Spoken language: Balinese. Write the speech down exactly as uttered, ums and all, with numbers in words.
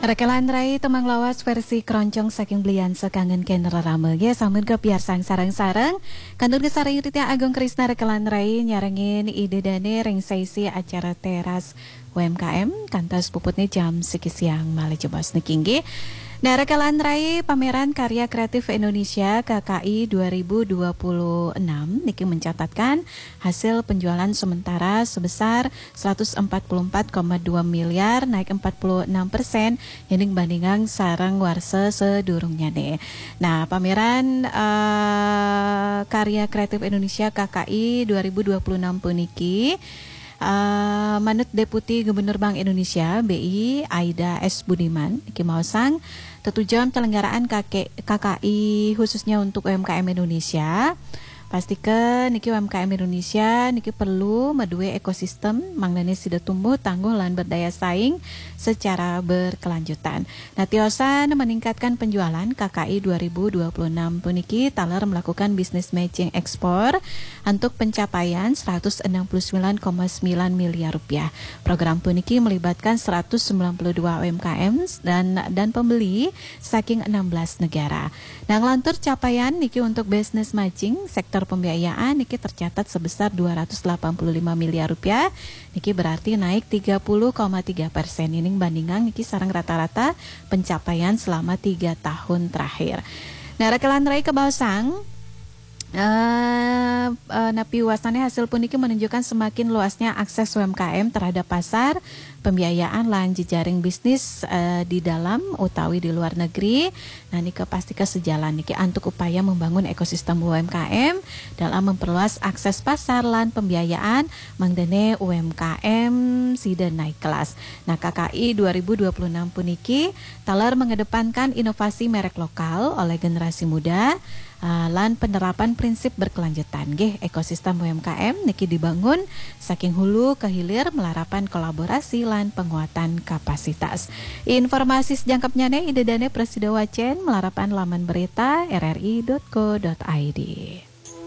Rekelan Rai tembang lawas versi keroncong saking Belian Sekangen Ken Rerame. Nggih, sampun kepiarsang sareng-sareng. Kantun kesareng Ritya Agung Krisna Rekelan Rai nyarengin Ida Dane ring saisi acara Teras U M K M kantos puputne jam siki siang malih jebos niki nggih. Nah, Rekelan Rai, Pameran Karya Kreatif Indonesia K K I dua ribu dua puluh enam niki mencatatkan hasil penjualan sementara sebesar seratus empat puluh empat koma dua miliar, naik empat puluh enam persen, yening bandingang sareng warsa sedurungnyane. Nah, pameran eh, karya kreatif Indonesia K K I dua ribu dua puluh enam puniki eh, manut Deputi Gubernur Bank Indonesia B I Aida S Budiman niki maosang tetujon penyelenggaraan K K I khususnya untuk U M K M Indonesia. Pastika niki U M K M Indonesia niki perlu madue ekosistem mangdane sida tumbuh tangguh lan berdaya saing secara berkelanjutan. Nah, tiosan meningkatkan penjualan K K I dua ribu dua puluh enam puniki taler melakukan business matching ekspor untuk pencapaian seratus enam puluh sembilan koma sembilan miliar rupiah. Program puniki melibatkan seratus sembilan puluh dua U M K M dan dan pembeli saking enam belas negara. Nah, nglantur capaian niki untuk business matching sektor pembiayaan niki tercatat sebesar dua ratus delapan puluh lima miliar rupiah. Niki berarti naik tiga puluh koma tiga persen. Ini bandingan niki sareng rata-rata pencapaian selama tiga tahun terakhir. Nah, Rekelan Rai kebaosang eh, eh, napi wasane hasil puniki menunjukkan semakin luasnya akses U M K M terhadap pasar, pembiayaan lan jejaring bisnis eh, di dalam utawi di luar negeri. Nah, nika pastika sejalan niki antuk upaya membangun ekosistem U M K M dalam memperluas akses pasar lan pembiayaan mangdene U M K M sida naik kelas. Nah, K K I dua ribu dua puluh enam puniki taler mengedepankan inovasi merek lokal oleh generasi muda uh, lan penerapan prinsip berkelanjutan nggih. Ekosistem U M K M niki dibangun saking hulu ke hilir melarapan kolaborasi lan penguatan kapasitas. Informasi sejangkepnyane Ida Dane Prasida Wacen melarapan laman berita R R I dot co dot I D.